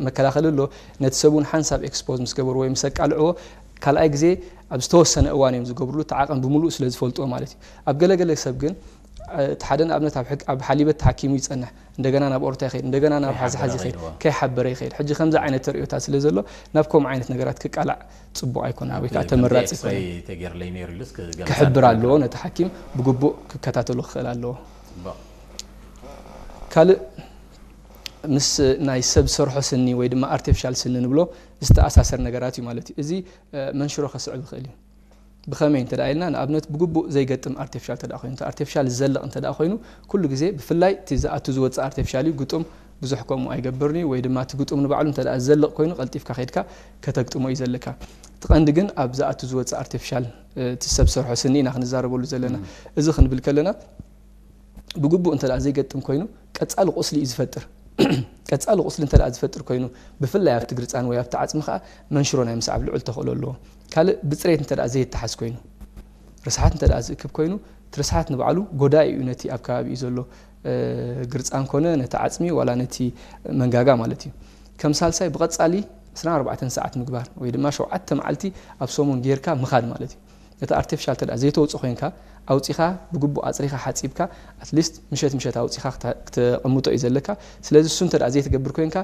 መከላኸሊ ኣሎ። ነቲ ሰብ እውን ሓንሳብ ኤክስፖዝ ምስ ገበርዎ ወይ ምስ ኣቃልዕዎ ካልኣይ ግዜ ኣብ ዝተወሰነ እዋን እዮም ዝገብርሉ፣ እቲ ዓቐን ብምሉእ ስለ ዝፈልጥዎ ማለት እዩ። ኣብ ገለገለ ሰብ ግን እቲ ሓደ ንኣብነት ኣብ ሕክ- ኣብ ሓሊበት ተሓኪሙ ይጸንሕ፣ እንደገና ናብ ኦርታ ይኸይድ፣ እንደገና ናብ ሓዝሓዝ ይኸይድ፣ ከይሓበረ ይኸይድ። ሕጂ ከምዚ ዓይነት ተርእዮታት ስለ ዘሎ ናብ ከምኡ ዓይነት ነገራት ክቃላዕ ጽቡቕ ኣይኮነን ወይ ከዓ ተመራጺ ኣይኮነን። ተገይርለይ ነይሩ ኢሉስ ክገልጻ ክሕብር ይኽእል ኣለዎ፣ እዩ። ነቲ ሓኪም ብግቡእ ክከታተሎ ክኽእል ኣለዎ። ጽቡቕ። ካልእ ምስ ናይ ሰብ ሰርሖ ስኒ ወይ ድማ ኣርቲፊሻል ስኒ ንብሎ ዝተኣሳሰር ነገራት እዩ ማለት እዩ። እዚ መንሽሮ ከስዕብ ይኽእል እዩ። ብኸመይ እንተ ኢልና ንኣብነት ብግቡእ ዘይገጥም ኣርቲፊሻል እንተ ኮይኑ፣ ኣርቲፊሻል ዝዘልቕ እንተ ኮይኑ ኩሉ ግዜ ብፍላይ እቲ ዝኣቱ ዝወፅእ ኣርቲፊሻል እዩ። ግጡም ብዙሕ ከምኡ ኣይገብርን እዩ ወይ ድማ እቲ ግጡም ንባዕሉ እንተ ዝዘልቕ ኮይኑ ቀልጢፍካ ከይድካ ከተግጥሞ እዩ ዘለካ። እቲ ቀንዲ ግን ኣብ ዝኣቱ ዝወፅእ ኣርቲፊሻል እቲ ሰብ ሰርሖ ስኒ ኢና ክንዛረበሉ ዘለና። እዚ ክንብል ከለና ብግቡእ እንተ ዘይገጥም ኮይኑ ቀፃሊ ቁስሊ እዩ ዝፈጥር። ቀፃሊ ቁስሊ እንተ ዝፈጥር ኮይኑ ብፍላይ ኣብቲ ግርፃን ወይ ኣብቲ ዓፅሚ ከዓ መንሽሮ ናይ ምስዓብ ልዑል ተኽእሎ ኣለዎ። ካልእ ብፅሬት እንተ ዘይተሓዝ ኮይኑ ርስሓት እንተ ዝእክብ ኮይኑ እቲ ርስሓት ንባዕሉ ጎዳኢ እዩ ነቲ ኣብ ከባቢኡ ዘሎ ግርፃን ኮነ ነቲ ዓፅሚ ዋላ ነቲ መንጋጋ ማለት እዩ። ከም ሳልሳይ ብቐፃሊ 24 ሰዓት ምግባር ወይ ድማ ሸውዓተ መዓልቲ ኣብ ሰሙን ጌርካ ምኻድ ማለት እዩ። ነቲ ኣርቲፊሻል እንተ ዘይተውፅእ ኮይንካ ኣውፂኻ ብግቡእ ኣፅሪኻ ሓፂብካ ኣትሊስት ምሸት ምሸት ኣውፂኻ ክተ- ክተቐምጦ እዩ ዘለካ። ስለዚ እሱ እንተ ዘይትገብር ኮይንካ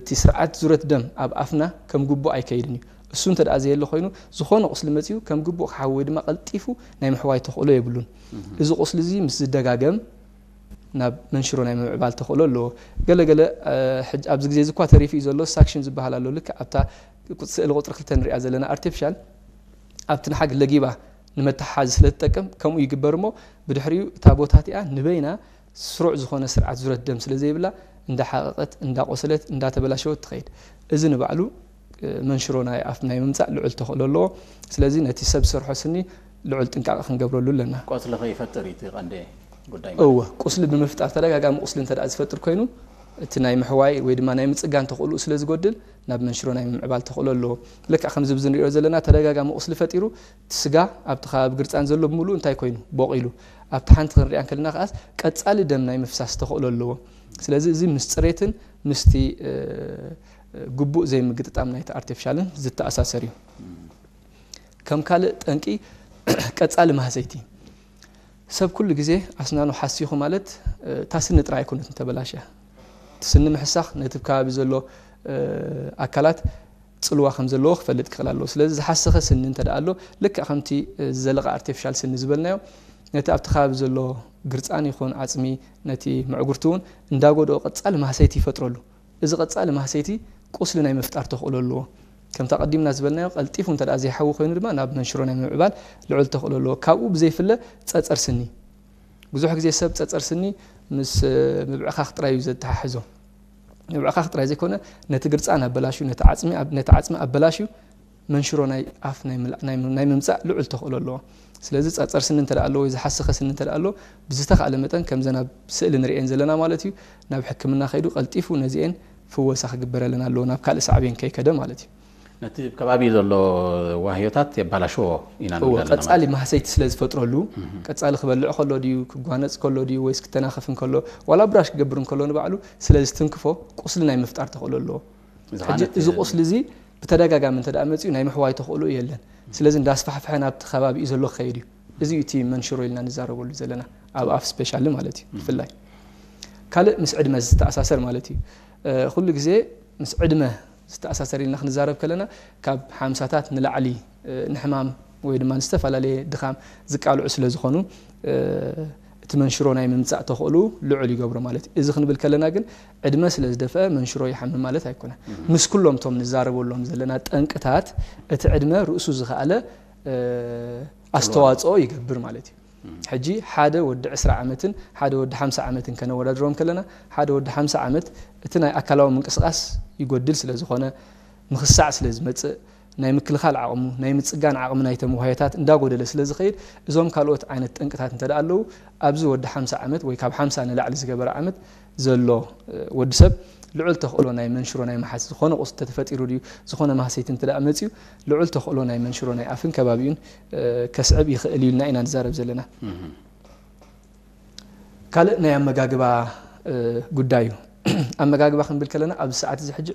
እቲ ስርዓት ዙረት ደም ኣብ ኣፍና ከም ግቡእ ኣይከይድን እዩ። እሱ እንተ ዘየለ ኮይኑ ዝኾነ ቁስሊ መፂኡ ከም ግቡእ ክሓዊ ወይ ድማ ቀልጢፉ ናይ ምሕዋይ ተኽእሎ የብሉን። እዚ ቁስሊ እዚ ምስ ዝደጋገም ናብ መንሽሮ ናይ ምምዕባል ተኽእሎ ኣለዎ። ገለገለ ሕጂ ኣብዚ ግዜ እዚ እኳ ተሪፉ እዩ ዘሎ ሳክሽን ዝበሃል ኣሎ። ልክዕ ኣብታ ስእሊ ቁፅሪ ክልተ ንሪኣ ዘለና ኣርቲፊሻል ኣብቲ ንሓግ ለጊባ ንመተሓሓዚ ስለ ትጠቅም ከምኡ ይግበር እሞ ብድሕሪኡ እታ ቦታ እቲኣ ንበይና ስሩዕ ዝኾነ ስርዓት ዙረት ደም ስለ ዘይብላ እንዳሓቐቐት እንዳቆሰለት እንዳተበላሸወት ትኸይድ። እዚ ንባዕሉ መንሽሮ ናይ ኣፍ ናይ ምምፃእ ልዑል ተኽእሎ ኣለዎ። ስለዚ ነቲ ሰብ ሰርሖ ስኒ ልዑል ጥንቃቐ ክንገብረሉ ኣለና። ቆስሊ ከይፈጥር እዩ እቲ ቀንዲ ጉዳይ። እወ ቁስሊ ብምፍጣር ተደጋጋሚ ቁስሊ እንተ ዝፈጥር ኮይኑ እቲ ናይ ምሕዋይ ወይ ድማ ናይ ምፅጋን ተኽእልኡ ስለ ዝጎድል ናብ መንሽሮ ናይ ምምዕባል ተኽእሎ ኣለዎ። ልክዕ ከምዚ ብዚ ንሪኦ ዘለና ተደጋጋሚ ቁስሊ ፈጢሩ እቲ ስጋ ኣብቲ ከባቢ ግርፃን ዘሎ ብምሉእ እንታይ ኮይኑ ቦቒሉ ኣብቲ ሓንቲ ክንሪኣ እንከለና ከዓስ ቀፃሊ ደም ናይ ምፍሳስ ተኽእሎ ኣለዎ። ስለዚ እዚ ምስ ፅሬትን ምስቲ ግቡእ ዘይምግጥጣም ናይቲ ኣርቲፊሻልን ዝተኣሳሰር እዩ። ከም ካልእ ጠንቂ ቀፃሊ ማህሰይቲ ሰብ ኩሉ ግዜ ኣስናኑ ሓሲኹ ማለት እታ ስኒ ጥራይ ኣይኮነትን ተበላሽያ። እቲ ስኒ ምሕሳኽ ነቲ ከባቢ ዘሎ ኣካላት ፅልዋ ከም ዘለዎ ክፈልጥ ክኽእል ኣለዎ። ስለዚ ዝሓሰኸ ስኒ እንተ ደኣ ኣሎ ልክዕ ከምቲ ዝዘለቐ ኣርቲፊሻል ስኒ ዝበልናዮ ነቲ ኣብቲ ከባቢ ዘሎ ግርፃን ይኹን ዓፅሚ ነቲ ምዕጉርቲ እውን እንዳጎድኦ ቀፃሊ ማህሰይቲ ይፈጥረሉ። እዚ ቀፃሊ ማህሰይቲ ቁስሊ ናይ ምፍጣር ተኽእሎ ኣለዎ። ከምታ ቀዲምና ዝበልናዮ ቀልጢፉ እንተ ደኣ ዘይሓዊ ኮይኑ ድማ ናብ መንሽሮ ናይ ምምዕባል ልዑል ተኽእሎ ኣለዎ። ካብኡ ብዘይፍለ ፀፀር ስኒ ብዙሕ ግዜ ሰብ ፀፀር ስኒ ምስ ምብዕኻኽ ጥራይ እዩ ዘተሓሕዞ። ምብዕኻኽ ጥራይ ዘይኮነ ነቲ ግርፃን ኣበላሽዩ ነቲ ዓፅሚ ኣበላሽዩ መንሽሮ ናይ ኣፍ ናይ ምምፃእ ልዑል ተኽእሎ ኣለዎ። ስለዚ ፀፀር ስኒ እንተ ኣሎ ወይ ዝሓሰኸ ስኒ እንተ ኣሎ ብዝተኻእለ መጠን ከምዘን ኣብ ስእሊ ንርእየን ዘለና ማለት እዩ ናብ ሕክምና ከይዱ ቀልጢፉ ነዚኤን ፍወሳ ክግበረለን ኣለዎ ናብ ካልእ ሳዕቤን ከይከደ ማለት እዩ። ነቲ ከባቢ ዘሎ ዋህዮታት የባላሽዎ ኢና ንብል ኣለና ማለት ቀፃሊ ማህሰይቲ ስለ ዝፈጥረሉ ቀፃሊ ክበልዕ ከሎ ድዩ ክጓነፅ ከሎ ድዩ ወይስ ክተናኸፍ እንከሎ ዋላ ብራሽ ክገብር እንከሎ ንባዕሉ ስለ ዝትንክፎ ቁስሊ ናይ ምፍጣር ተኽእሎ ኣለዎ። ሕጂ እዚ ቁስሊ እዚ ብተደጋጋሚ እንተ ደኣ መፂኡ ናይ ምሕዋይ ተኽእሎ የለን። ስለዚ እንዳስፋሕፍሐ ናብቲ ከባቢ እዩ ዘሎ ክኸይድ እዩ። እዚ እዩ እቲ መንሽሮ ኢልና ንዛረበሉ ዘለና ኣብ ኣፍ ስፔሻሊ ማለት እዩ። ብፍላይ ካልእ ምስ ዕድመ ዝተኣሳሰር ማለት እዩ። ኩሉ ግዜ ምስ ዕድመ ዝተኣሳሰር ኢልና ክንዛረብ ከለና ካብ ሓምሳታት ንላዕሊ ንሕማም ወይ ድማ ንዝተፈላለየ ድኻም ዝቃልዑ ስለ ዝኾኑ እቲ መንሽሮ ናይ ምምፃእ ተኽእሉ ልዑል ይገብሮ ማለት እዩ። እዚ ክንብል ከለና ግን ዕድመ ስለ ዝደፍአ መንሽሮ ይሓምም ማለት ኣይኮነን። ምስ ኩሎም እቶም ንዛረበሎም ዘለና ጠንቅታት እቲ ዕድመ ርእሱ ዝኸኣለ ኣስተዋፅኦ ይገብር ማለት እዩ። ሕጂ ሓደ ወዲ ዕስራ ዓመትን ሓደ ወዲ ሓምሳ ዓመትን ከነወዳድሮም ከለና ሓደ ወዲ ሓምሳ ዓመት እቲ ናይ ኣካላዊ ምንቅስቃስ ይጎድል ስለ ዝኾነ ምኽሳዕ ስለ ዝመፅእ ናይ ምክልኻል ዓቕሙ ናይ ምፅጋን ዓቕሚ ናይቶም ዋህዮታት እንዳጎደለ ስለ ዝኸይድ እዞም ካልኦት ዓይነት ጠንቅታት እንተ ኣለዉ ኣብዚ ወዲ ሓምሳ ዓመት ወይ ካብ ሓምሳ ንላዕሊ ዝገበረ ዓመት ዘሎ ወዲ ሰብ ልዑል ተኽእሎ ናይ መንሽሮ ናይ ምሓዝ ዝኾነ ቁስሊ ተተፈጢሩ ድዩ ዝኾነ ማህሰይቲ እንተ መፅዩ ልዑል ተኽእሎ ናይ መንሽሮ ናይ ኣፍን ከባቢኡን ከስዕብ ይኽእል እዩ ኢልና ኢና ንዛረብ ዘለና። ካልእ ናይ ኣመጋግባ ጉዳይ እዩ። ኣመጋግባ ክንብል ከለና ኣብዚ ሰዓት እዚ ሕጂ